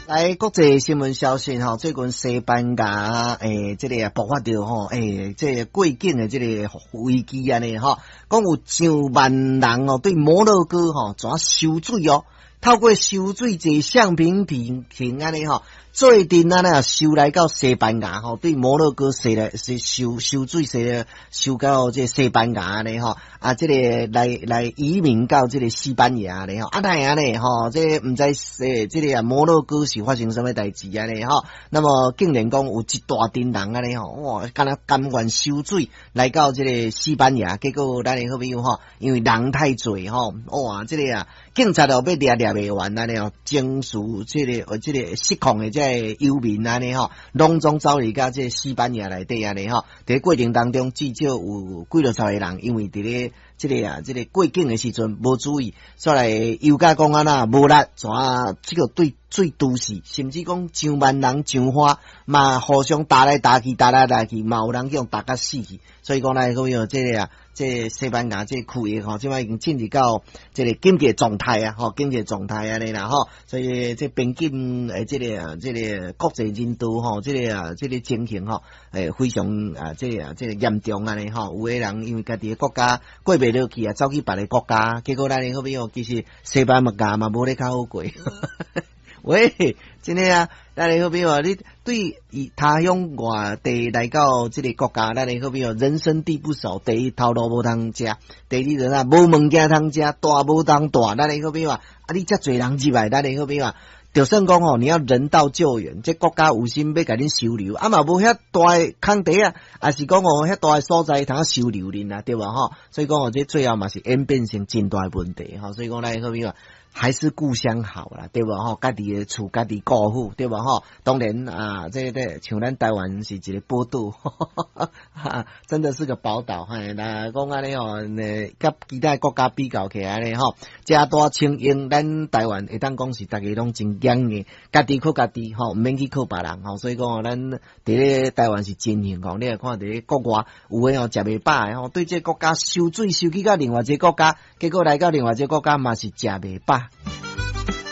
來國際新聞消息吼，最近西班牙這个啊爆發著吼，這个過境的這个危機按呢吼，講有上萬人哦對摩洛哥吼怎收水哦，透過收水坐橡皮艇艇按呢吼，做陣按呢收來到西班牙吼，對摩洛哥踅來是收收水踅收到這西班牙按呢吼，啊這个來來移民到這个西班牙咧吼，啊哪會按呢吼，這个毋知這个啊摩洛哥是發生啥物代誌按呢吼，那麼竟然講有一大陣人按呢吼，哇，敢若甘願收水來到這个西班牙，結果咱的好朋友吼，因為人太濟吼，哇，這个啊警察哦欲掠掠袂完按呢吼，情緒這个失控的這个遊民按呢吼，攏總走入到這个西班牙內底按呢吼，佇過程當中至少有幾六十个人，因為佇咧這个啊這个過境的時陣無注意，煞來油價講按怎無力，怎啊這个對水都死，甚至講上萬人上花嘛，互相打來打去，打來打去，嘛有人去予打甲死去。所以講來講有這个啊，這个西班牙這個區域吼，這擺已經進入到這个緊急狀態啊，吼，緊急狀態按呢啦吼。所以這邊境的這个啊，這个國際人道吼，這个啊，這个情形吼，非常啊，這个啊，這个嚴重按呢吼。有的人因為家己的國家過袂落去啊，走去別个國家，結果咱的好朋友其實西班牙嘛無咧較好過。喂，真的啊，咱的好朋友，你對他鄉外地來到這个國家，咱的好朋友人生地不熟，第一頭路無通食，第二就啥無物件通食，蹛無通蹛，咱的好朋友啊，你遮濟人入來，咱的好朋友啊，就算講吼，你要人道救援，這國家有心欲共恁收留，啊嘛無遐大的空地啊，抑是講吼遐大的所在通收留恁啊，對無吼？所以講吼，這最後嘛是演變成真大的問題吼，所以講咱的好朋友還是故鄉好啦，對無吼？家己的厝，家己顧好，對無吼？當然啊，這個像咱台灣是一個寶島，真的是個寶島。嘿，那講按呢吼，佮其他國家比較起來咧吼，遮大清英，咱台灣會當講是逐家攏真強的，家己靠家己吼，毋免去靠別人吼。所以講咱佇咧台灣是真幸福。你來看佇咧國外有的吼，食袂飽的吼，對這個國家收水收去到另外一個國家，結果來到另外一個國家嘛是食袂飽。